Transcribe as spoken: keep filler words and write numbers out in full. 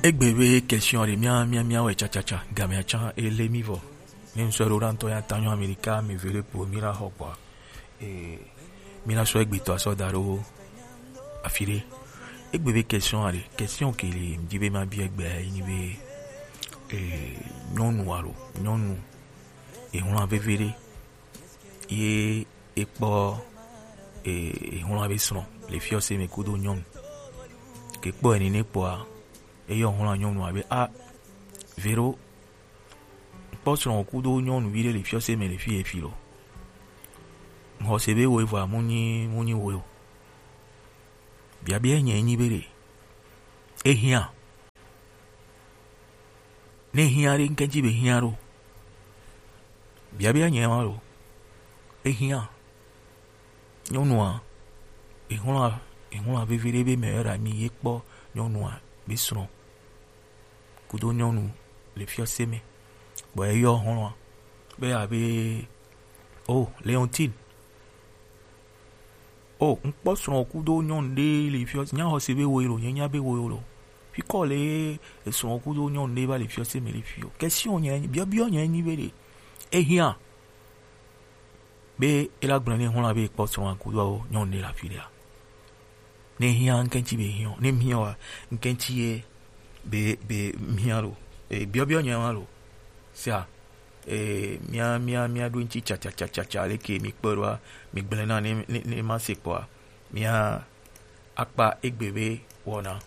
Egbe be question ɖe mía mía mía wɛ tsatsa game atsa ele mi vɔ. Ne ŋsɔ ɖo ɖa ŋutɔ ya ta nyɔ Amerika mi ve ɖe kpo mi la xɔ kpɔa. Eh, mi la sɔ egbe tɔ asɔ da ɖo afi ɖe. Egbe be question aɖe, question ke li ŋdi be ma bi egbe yi ni be, eh, nyɔnu alo nyɔnu ehlan veve ɖe ye ekpɔ, eh, ehlan be srɔ̃ le fiɔse me kudo nyɔnu. Ke kpɔ eni ne kpɔa, eyɔ hlan nyɔnu abe a vero kpɔ srɔ̃ kudo nyɔnuvi ɖe le fiɔse me le fi efi lo. Xɔse be wo evɔa mu nyi mu nyi wo o. Biabia nye nyi be ɖe ehiã. Ne hiã ɖe ŋkɛntsi be hiã ɖo. Biabia nye ma ɖo. Ehiã. Nyɔnua, ehlan ehlan veve ɖe be me era mi ye kpɔ nyɔnua be srɔ̃ kudo nyɔnu le fiɔse me. Bɔ eyɔ hɔnlɔa be abe, oh, Leontine. Oh, ŋkpɔ srɔ̃ kudo nyɔnu ɖe le fiɔse, nya xɔse be wo lo, nye nya be wo lo. Fikɔ le esrɔ̃ kudo nyɔnu ɖe va le fiɔse me le fio. Question nye biɔbiɔ nye nyi be ɖe ehiã be ela gblɔ ne hɔnlɔa be ekpɔ srɔ̃ kudo nyɔnu ɖe le afi ɖea. Ne hiã ŋkɛntsi be hiã, ne hiã wa ŋkɛntsi ye be be hiã lo. E biɔbiɔ nye ma lo. Sia, e mia mia mia ɖo ŋtsi tsatsa tsatsa tsatsa leke mi kpɔ ɖoa, mi gblẽ na ne ne ne ma se kpɔa, mia akpa egbe be wɔna.